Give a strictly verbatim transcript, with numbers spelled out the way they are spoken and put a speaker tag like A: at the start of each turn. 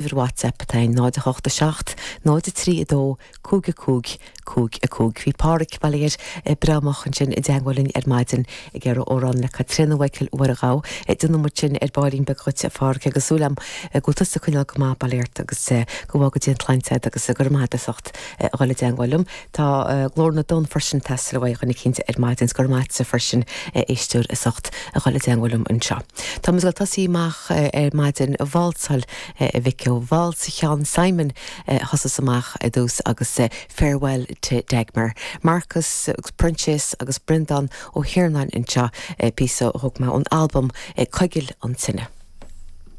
A: Uimhir WhatsApp atá in náid a hocht a seacht, náid a trí a dó, cúig a cúig, cúig a cúig. Bhí Páraic Baile Bramach ansin i dteagmháil linn ar maidin ag iarraidh amhrán le Caitríona Mhichael Mhuire Ghabha. Déanfaidh muid sin ar baillín beag dhuit a Pháraic agus súil agam go bhfuil tusa ag coinneáil go maith bail ort agus go bhfága Dia an tsláinte agat agus go raibh maith agat as ucht a dhul i dteagmháil liom. Tá Glór na dTonn freisin ag teastáil uaidh dhuine eicínt ar maidin 's go raibh maith agatsa freisin a éisteoir as ucht a dhul i dteagmháil liom anseo. Tá muid ag tosaí amach ar maidin válsáil a mhic ó Válsa Sheáin Simon thosaigh amach ar dtús agus Farewell to Dagmar. Marcus agus Proinsias agus Breandán Ó hIarnáin anseo píosa a thóg mé ón albam Coigil an Tine.